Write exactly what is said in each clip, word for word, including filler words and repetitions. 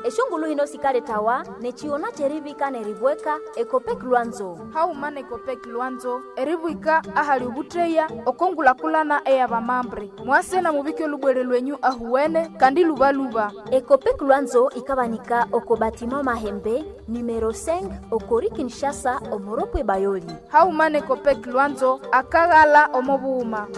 Eshongulu hino sikaletawa nechiona cherivika neribweka Ekopek Lwanzo. Hauma nekopek Lwanzo eribwika ahali ubutreya okongulakulana eyabamambre mwase na mubike olubwere lwenyu ahuwene kandi lubaluba. Ekopek Lwanzo ikabanika oko batima Mahembe numero cinq okori Kinshasa omoropwe Bayoli. Hauma nekopek Lwanzo akaghala omobuhuma.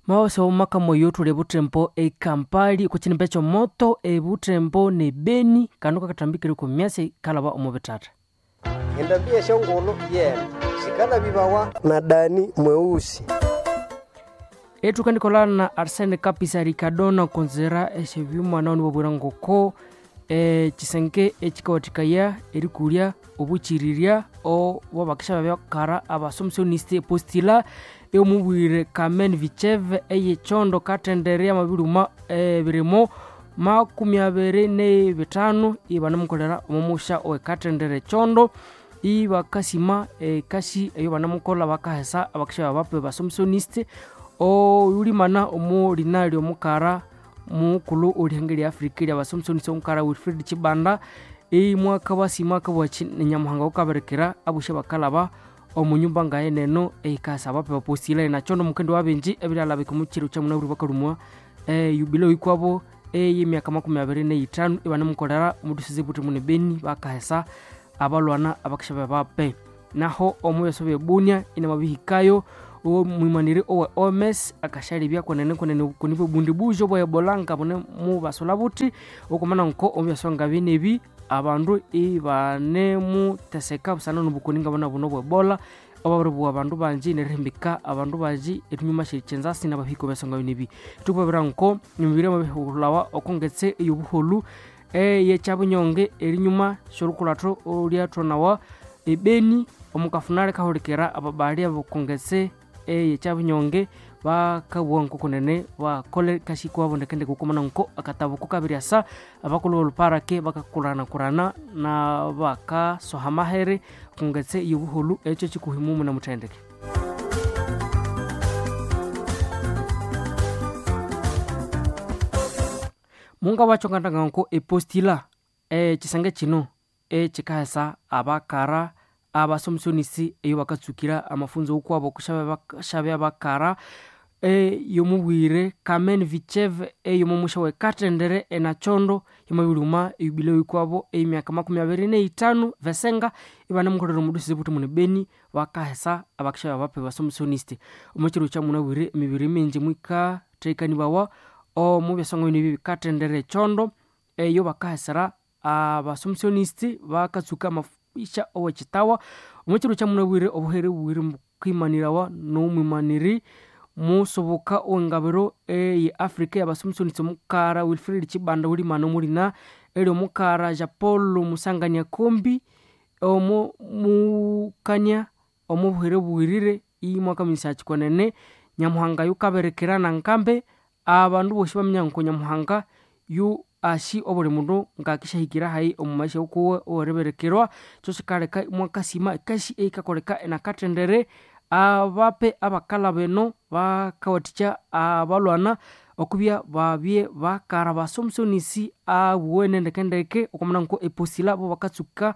Mawase omaka moyo tuli butembo ekampali kuchinimbe chomoto ebutembo ne Beni kanu kakatambikire ku myasi kalaba omubitata. Endambia eshongolo yena sikala bibawa na Dani mweusi. Etukandikola na Arsene Kapisa Ricardona konzera eshebyuma nawo nibobwira ngoko e, chisenge echikawathikaya erikulya obuchirirya obwabakisha babyakara abasomsioniste postila eyomubwire Carmen Vicheve eyechondo katendere amabiruma ebirimo makumi abiri nebitano ibanamukolera omumusha owekatendere chondo ibakasima ekasi eyo banamukola bakahesa abakisha babape basomsioniste oyulimana omulina lyomukara mukulu olihanga lya Afrika lya basomsonisi omukara Wilfred Chibanda imwaka basima akabwachi nenyamuhanga ukaberekera abushe bakalaba omunyumba ngaye neno eikasa abape bapostila nachondo mukendo wabenji ebiryalabika omuchiro kyamunaburi bakalumwa e, yubileo ikwabo ey'emyaka makumi abiri neitano ibanamukolera omudusizi buti mune Beni bakahesa abalwana abakisha babape naho omubyaso byebunia inamabihikayo omwimaniri owe O M S akashalibya kwenene kwenene kunibwe bundi bujo bwa Ebola nga bune mubasola buti okumana nko omubyaso nga binebi abandu ibanemuteseka busana nobukoni nga buna buno bwa Ebola obabiri abandu banji nerihimbika abandu banji etunyuma shirichenzasi nabahiko byaso nga binebi tukubabira nko emibiri amabihulawa okongetse eyobuholu eyekyabunyonge erinyuma sholukulatho olyathwanawa ebeni omukafunale kahulikira ababali abakongetse eyekyabunyonge bakabugha nkokunene bakole kasi kwabo ndekendeke okumana nko akatabu kukabiri asa abakulhu boluparake bakakulanakulana na bakasoha mahere kongetse eyobuholu ekyo kikuhimumu namuthendeke. Munga wacho ngandanga nko epostila ekisenge kino ekikahesa abakara abasomsonisi eyo bakatsukira amafunzo okwabo kushabya bakara eyomubwire Carmen Vicheve eyomumusha wekatendere enachondo yamabiruma eyubileo ikwabo ey'emyaka makumi abiri neitano vesenga ibanamukolera omudusizi buti mune Beni bakahesa abakisha babape basomsoniste omukiro kyamunabwire emibiri mingi mwikathekanibawa omubyasonga bino bikatendere echondo eyo bakahesera abasomsionisti bakatsuka amaisha owekitawa omukiro kyamunabwire obuhere bubwire bukwimanirawa n'omwimaniri musoboka owengabiro eye Africa yabasomsonisi omukara Wilfred Chibanda ulimana omulina eri omukara Japolo Musangania Kombi omo mukania omubuhere bubwirire imwaka misakikwenene Nyamuhanga yukaberekera nankambe abandu bosi baminya nko Nyamuhanga yu ashi obuli mundu ngakishahikira hayi omu maisha ukuwe owereberekerwa kyo sikaleka mwakasima ekasi eikakoleka enakathendere abape abakalha beno bakawathikya abalwana okubya babye bakara basomsonisi abuwene ndekendeke okwamana nko eposila bo bakatsuka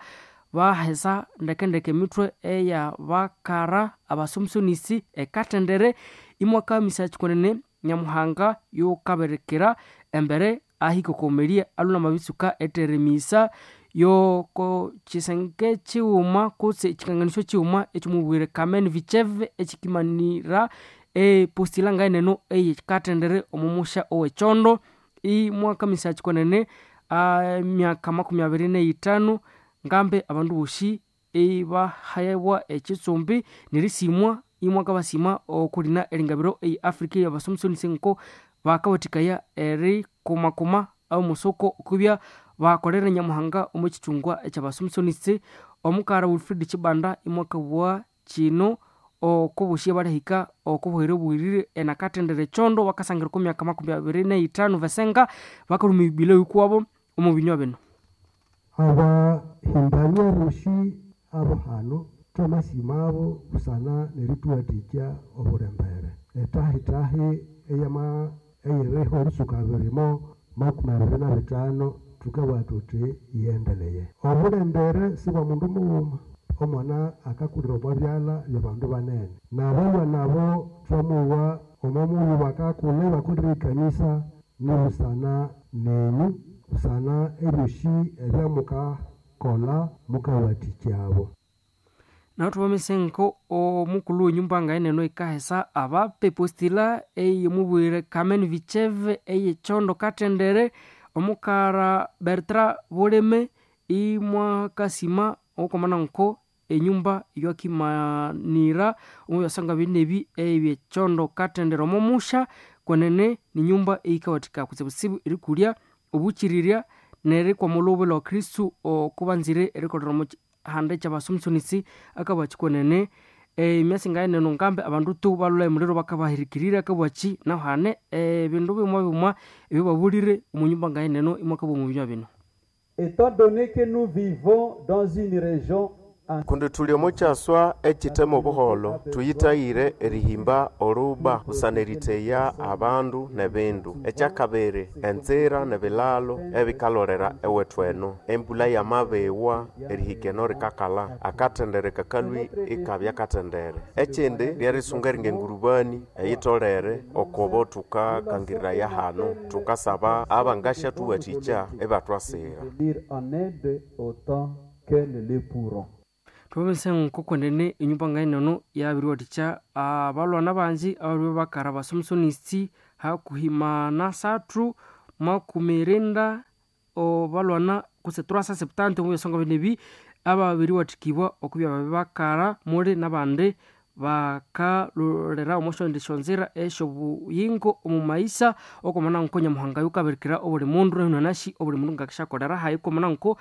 bahesa ndekendeke emithwe eya bakara abasomsonisi ekathendere imwaka misakikwenene Nyamuhanga yukaberekera embere ahikokomeria aluna mabitsuka eteremisa yoko chisenge chiwuma kutse echikanganisyo chiwuma ekyomubwire Carmen Vicheve echikimanira epostila ngaeneno eyekathendere omumusha owechondo imwaka misakikwenene emyaka makumi abiri neitano ngambe abandu bosi ibahayabwa ekitsumbi nerisimwa imwaka basima okulina eringabiro eyi Africa yabasomsonisi nko bakawathikaya erikumakuma omusoko okubya bakolere Nyamuhanga omu kithungwa ekyabasomsonisi omukara Wilfred Chibanda imwakabugha kino okobosi abalihika okobuhere obuwirire enakathendere echondo bakasangira oko myaka makumi abiri neitano vesenga bakalhuma ebibileo ikwabo omu binywa bino. Abahimbania bosi abo hano thwamasimabo busana nerituwathikya obulembere etahitahi eyama eyiriho erisuka birimo makumi abiri na bitano tukabugha thuthi yiyendeleye. Obulembere si bwa mundu mughuma, omwana akakulira omwa byalha byabandu banene. Nabalwana abo thwamuwa omo mughulhu bakakulha ibakolire ekanisa nibusana nenyu, busana ebyosi ebyamukakolha mukawathikya abo. Naho thubamisenko omukulhu wenyumba ngaeneno ekahesa abape postila eyomubwire Carmen Vicheve eyechondo katendere omukara Bertrand Buleme imwakasima okomana nko enyumba yokimanira omubyasanga binebi ebyechondo katendere omomusha kwenene ninyumba eyikawathika kutsibutsibu erikulya obuchirirya nerikwamulha obulha wa Kristu okubanzire erikolera omo hande kyabasomesonisi akabwaki kwenene emyasi ngaeneno ngambe abandu tu balhwa emuliro bakabahirikirira akabwaki nahu hane ebindu bimwa bimwa ebyababulire omunyumba ngaeneno imwakabwa omu binywa bino. Étant donné que nous vivons dans une région Kundi thuli omo kyaswa ekithemu obuholho, thuyithayire erihimba oruba busana eritheya abandu nebindu. Ekyakabiri, enzira nebilalo ebikalolera ewethu eno. Embulha yamabiwa erihika eno rikakalha, akathendere kakalhwi ikabya kathendere. Ekindi, lyerisunga eringa engurubani eyitholere okobo thukakangiriraya hano. Thukasaba abangasyathuwathikya ibathwasira. venir en aide autant qu'elles le pourront. Thubabese nkokwenene enyumba ngaeneno yabiriwathikya abalwana bangi ababiri bakara basomesonisi hakuhimana sathu makumi irinda obalwana kutse trois cent septante omu byasonga binebi ababiriwathikibwa okubya babi bakara muli nabandi bakalolera omo syondi syonzira esyobuyingo omu maisa okwamana nko Nyamuhanga yukabirikira obuli mundu nahino obuli mundu ngakisyakolera hayi okwamana nko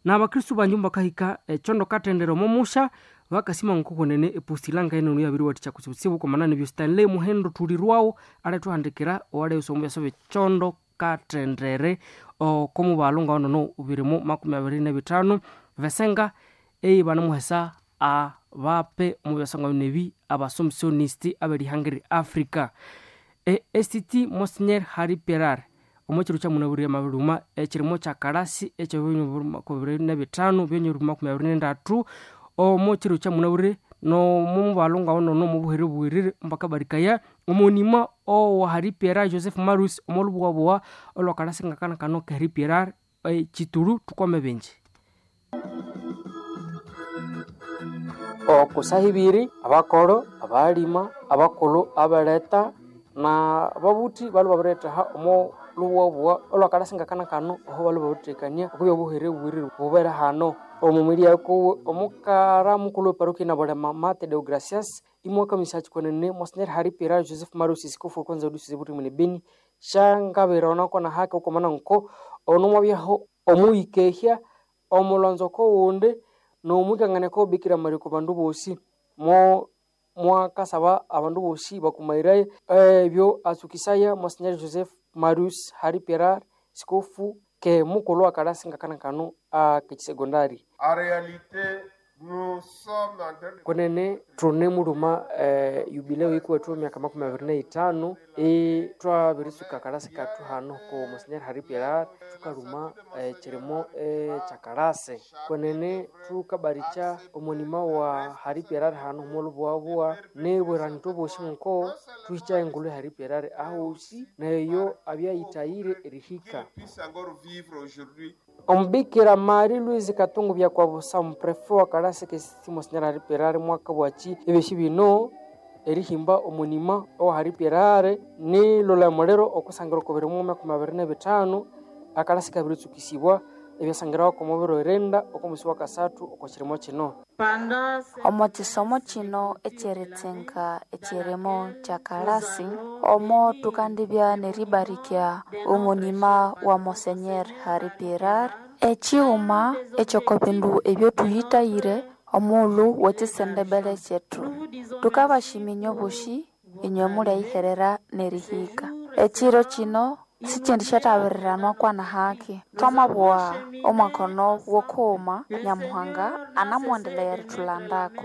nabakristu bangi mbakahika echondo katendere omo musha bakasima nkokwenene epostila ngaeneno yabiriwathikya kutsibutsibu okwamana nebyo Stanley Muhendo thulirwawo alethuhandikira owaleyusa omu byasa byechondo katendere okomubalhu ngaonono birimu makumi abiri nebithanu besenga eibanamuhesa abape omu byasonga binebi abasomesonisti aberihanga Africa. E S T T Monsignor Harry Perar omo kiro kyamunabwire amabiruma ekirimo kyakalasi ekyebiri nebithanu byenyeri makumi abiri nendathu omo kiro kyamunabwire nomubalhu ngaonono omubuhere obuwirire mbakabarikaya omunima owa Harry Pierre Joseph Marus omolhubuwabuwa olwakalasi ngakana kano ka Harry Pierre chitulu thukwame bingi. Okusaha ibiri abakoro, abalima, abakulhu abaleta na babuthi balhwe babirethaha omo lhubuwabuwa olwakalasi ngakana kano aho balhwe babirithekania okubya obuhere obuwirire bubere hano. Omu mwiri kuwe omukara mukulhu weparokia nabulema Mate Deogracias imwakamisa kwenene Monsignor Harry Pierre Joseph Marus isikofu okonza odusize buthi mwene Beni syangabirona kona hake okwamana nko ono mwabyaho omuyikehya omulonzo kowundi nomwikanganeko Bikira Maria oko bandu bosi mo mwakasaba abandu bosi bakumairaye ebyo atsukisaya Monsignor Joseph Marius Harry Pierre sikofu ke mukulhu akalasi ngakana kano akekisegondari. En réalité, nous sommes en train de Kwenene thune mulhuma eh, yubileo yikuwethu emyaka makumi abiri neithanu e twabirisuka akalasi kathu hano ku Monsignor Harry Pierre thukalhuma ekirimo ekyakalasi. Kwenene thukabarikya omunima wa Harry Pierre hano omolhubuwabuwa nibwirani thwabosi nko thuhikya engulhu ya Harry Pierre ahosi neyo abyayithayire erihika. Puisse encore vivre aujourd'hui. Omubikira Marie Louise Katungu Byakwabusa omuprefe wa kalasi kesi Monsignor Harry Pierre mwakabwaki ebyosi bino erihimba omunima owa Harry Pierre nilolha emuliro okusangira oko biri makumi abiri nebithanu akalasi kabiritsukisibwa ebyasangirawa omo biro irinda oko mwisi wa kasathu oko kirimo kino. Omo kisomo kino ekyeritsinga ekyirimo kyakalasi omo thukandibya neribarikya omunima wa Monsenyer Harry Pierre ekighuma ekyoko bindu ebyothuyithayire omughulhu wekisendebele kyethu. Thukabashiminya obosi inywe mulyayiherera nerihika. Ekiro kino sikindi syathabiriranwa kwana haki. Thwamabugha omwaka ono wokughuma Nyamuhanga anamuwendelea erithulandako.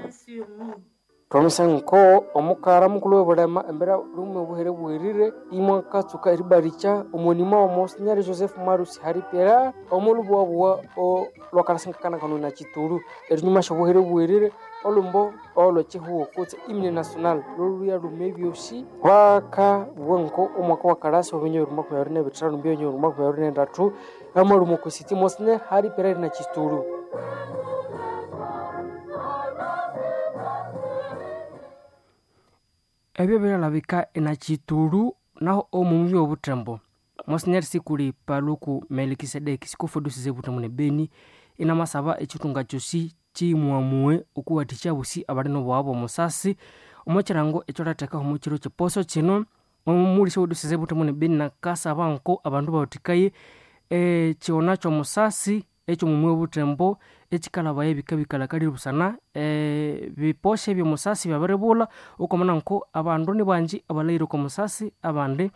Twamisa nko omukara mukulu w'obulema embera lume obuhere bwerire imwakatsuka eribaricha omonima wa Monsignor Joseph Marusi Haripera omulubuwabuwa olwakalasengakanakano na Chitulu erinyuma syobuhere bwerire olumbo olwechihuo kutse hymne national loluya lume ebyosi bakabugha nko omwaka wa kalasi w'ebinyo bibiri makumi abiri n'ebithanu mbyo bibiri makumi abiri n'endatu amalumo kusiti Monsignor Haripera na Chitulu. Ebyo byalabika enachitulu naho omumwi obutembo Monsignor Sikuli Paluku Melkisedeki sikufodusize butembo ne Beni inamasaba echitunga kyosi chimuamue okuwathikya bosi abali n'obwabo omusasi omo kirango ekyolathekaho omu kiro kyeposo kino omulisa odusize butembo ne Beni nakasaba nko abandu bawathikaye ekighona ky'omusasi eky'omumwi obutembo ekikalabaya ebikabikalhakalire busana ebiposha eby'omusasi byabiribulha okwamana nko abandu nibangi abalhayire oko musasi abandi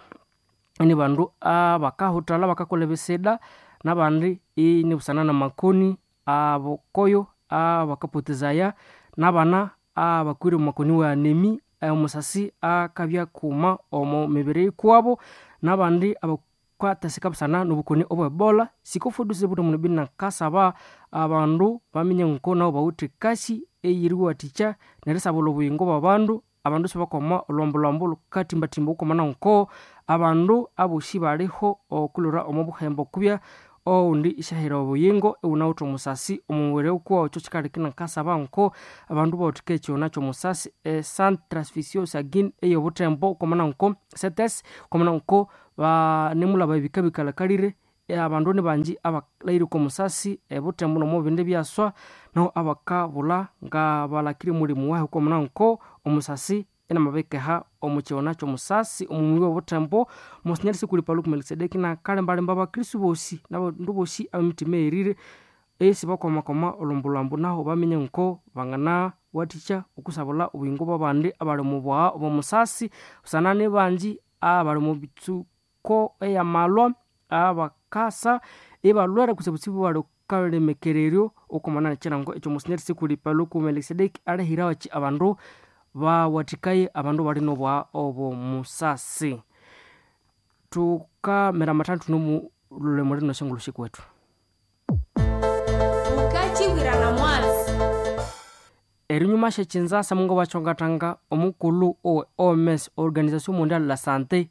nibandu abakahuthalha bakakolha ebisida nabandi inibusana namakoni abokoyo abakapotezaya nabana abakwire omu makoni wa anemi omusasi akabya kuma omu mibiri ikuwabo nabandi abakwatasika busana nobukoni obwe Ebola. Sikofuduse butembo ne Beni nakasaba abandu baminya nko nabo bawithe kasi eyeriwathikya nerisabulha obuyingo bw'abandu abandu sibakwama olhwambolhwambo lhukathimbathimba okwamana nko abandu abosi baliho okulhwira omo buhembo kubya owundi isyahira obuyingo iwunawithe omusasi omumubiri ukuwawu ekyo kikaleka inakasaba nko abandu bawathika ekighona ky'omusasi e Centre Transfusion Sanguine ey'obuthembo okwamana nko C T S okwamana nko banemulaba ebikabikalhakalire abandu nibangi abalhayire oko musasi ebuthembo n'omubindi byaswa nahu abakabulha ngabalakire omulimu wahi okwamana nko omusasi inamabikeha omu kighona ky'omusasi omumwi w'obuthembo. Monsignor Sikuli Paluku Melkisedeki nakalembalemba abakristu bosi n'abandu bosi ab'emitima eyerire esibakwamakwama olhwambolhwambo nahu baminya nko banganawathikya okusabulha obuyingo bw'abandi abali omu bwagha obw'omusasi busana nibangi abali omu mitsuko ey'amalwa abakasa ibalhwere kutsibutsibu balukalemekereryo okwamana n'ekirango ekyo Monsignor Sikuli Paluku Melkisedeki alihirawo abandu bawathikaye abandu bali n'obwagha obw'omusasi. Thukamira amathandu nomulhulemo lino syangulhu sikwethu. Ukachibwirana mwatsi. Erinyuma syekinzasa mungo bakyongathanga omukulhu owe O M S Organisation Mondiale de la Santé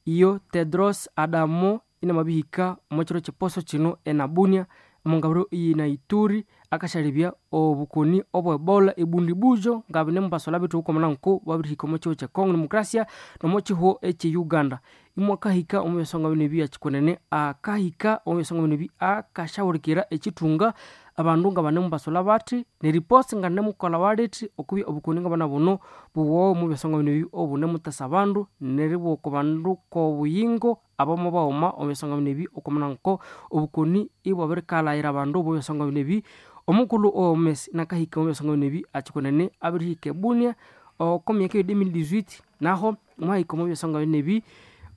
iyo Tedros Adamo inamabihika omo kiro kyeposo kino enabunia omongabiro iyina Ituri akasyalebya obukoni obwe Ebola ebundibujo ngabine mubasolha bethu okwamana nko babirihika omo kihugho kye Congo Democracia nomo kihugho ekye Uganda. Imwakahika omu byasonga bino ebi akyikunene akahika omu byasonga bino ebi akasyahulhikira ekithunga abandu ngabane mubasolha bathi neriposi nganemukolha walithi okubya obukoni ngabana buno buwowe omu byasonga bino ebi obunemutesa abandu neribugha oko bandu kobuyingo abamo baghuma omu byasonga bino ebi okwamana nko obukoni ibwabirikalhaghira abandu omu byasonga bino ebi. Omukulhu owe O M S nakahika omu byasonga bino ebi akyikunene abirihika ebunia oko myaka eyo twenty eighteen naho mwahika omu byasonga bino ebi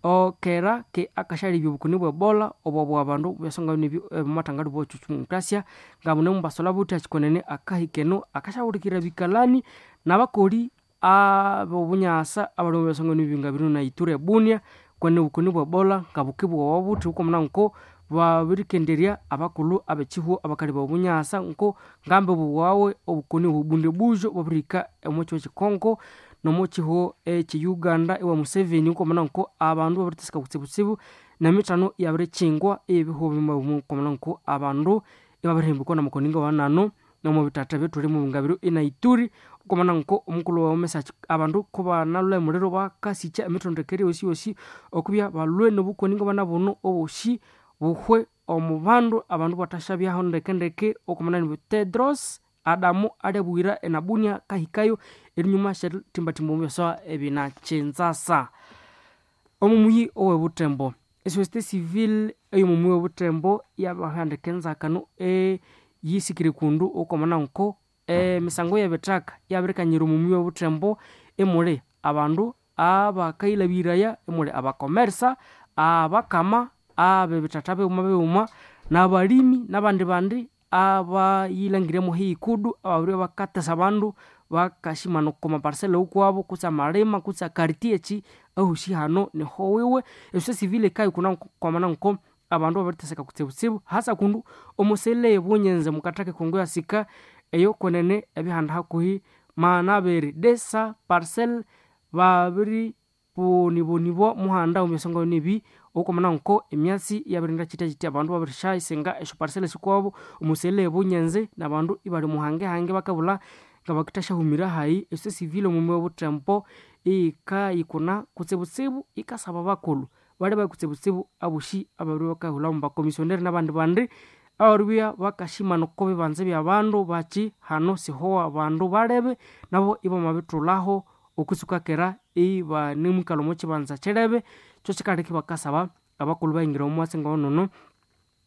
okera ke akasyalebya obukoni bwe Ebola obwabugha abandu omu byasonga bino ebi omumathangali bw'omukrasia ngabune mubasolha buthi akyikunene akahika eno akasyahulhikirira ebikalani n'abakoli ab'obunyasa abali omu byasonga bino ebi ngabiri na Ituri ebunia kwene obukoni bwe Ebola ngabukibughawa buthi okwamana nko babirikenderya abakulhu ab'ekihugho abakalebya obunyasa nko ngambi bughawe obukoni obubundibujo bwabirihika omo kihugho ekye Congo nomo kihugho ekye Uganda ewa Museveni okwamana nko abandu babiriteseka kutsibutsibu n'emithano iyabirikyingwa ey'ebihugho bimwe okwamana nko abandu ibabirihambikwa n'amakoni ngawanano nomo bithatha ebyathulimu ngabiro ina Ituri okwamana nko omukulhu wa O M S abandu kubanalhwa emuliro bakasikya emithondekere yosi yosi okubya balhwe n'obukoni ngabana buno obosi buhwe omu bandu abandu bathasyabyaho ndekendeke okwamana ni Tedros Adamo alyabuyira enabunia kahikayo erinyuma syerithimbathimba omu byasawa ebinakyinzasa. Omumuyi owe butembo esociété civile ey'omumuyi w'obutembo yabahandika enzakano eyisikire kundu okwamana nko emisango y'ebithaka yabirikanyira omumuyi w'obutembo emuli abandu abakayilhabiraya emuli abakomersa abakama ab'ebithatha bighuma bighuma n'abalimi n'abandi bandi abayilhangiremo hikudu ababiribya bakatesa abandu Bakashimana oko maparsele ukwabo kutse amalima kutse akariti eki ahushi hano niho wiwe. Esociété civile ikayikuna kwamana nko abandu babiriteseka kutsibutsibu hasa kundu omusele ebunyenze mukataka ekongo yasika eyo kwenene ebihanda hakuhi manabiri desa parcel babiri bonibonibwa muhanda omuyasonga nebi okwamana nko emyatsi yabirinda kitya kitya abandu babirishayisinga esyo parcel sikwabo omusele ebunyenze nabandu ibali muhange hange bakabulha ngabakithashahumira hayi. Esociété civile omumi obuthembo iyikayikuna kutsibutsibu ikasaba abakulhu bali kutsibutsibu abosi ababiri bakahulha mubakomissionnaire nabandi bandi ababiribya bakashimana oko bibanza byabandu baki hano siho abandu balebe nabo ibamabithulhaho okusukakera ibanemwikalha omo kibanza kirebe. Kyo kikaleka ibakasaba abakulhu bayingira omwatsi ngonono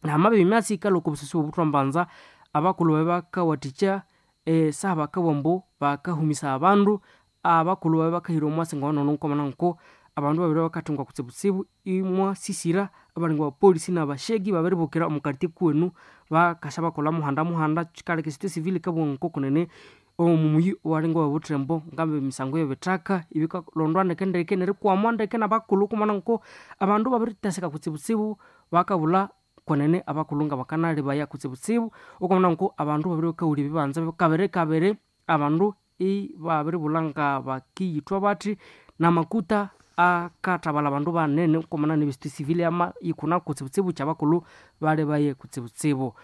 namabya emyatsi yikalhwa oko busosi obuthwambanza abakulhu babe bakawathikya esaha bakabugha ambu bakahumisa abandu abakulhu babe bakahira omwatsi ngonono kwamana nko abandu babiri bakathungwa kutsibutsibu imwasisira abalinga abapolisi nabashegi babiribukira omu kartie kuwenu bakasya bakolha muhanda muhanda. Kikaleka esociété civile ikabugha ngoko kunene omumuyi owalinga owebuthembo ngamba emisango yebithaka ibikalondwa ndeke ndeke nerikwamwa ndeke nabakulhu kumana nko abandu babiriteseka kutsibutsibu bakabulha kwenene abakulhu ngabakanalebaya kutsibutsibu okwamana nko abandu babiri bakawulya ebibanza kabiri kabiri abandu ibabiribulha ngabakiyithwa bathi namakuta akathabalha abandu banene kwamana ne société civile yama yikuna kutsibutsibu kyabakulhu balebaye kutsibutsibu.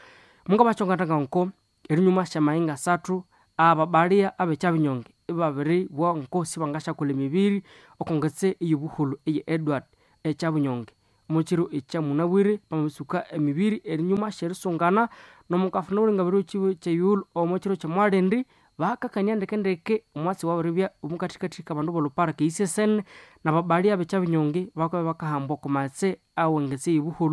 Mungabakyongatanga nko erinyuma syamahinga asathu ababalia abekyabinyonge ibabiribugha nko sibangasyakolha emibiri okongetse eyobuholho eye Edward ekyabunyonge omukiro ekyamunabwire bamabisuka emibiri erinyuma syerisungana nomukafuna obulenga kyeyughulhu omukiro kyomwalindi bakakania ndeke ndeke omwatsi wabiribya omukathikathi kabandu bolhupark eyisesene nababalia abekyabinyonge bakabya bakahambwa okwa maghetse awengetse eyobuholho.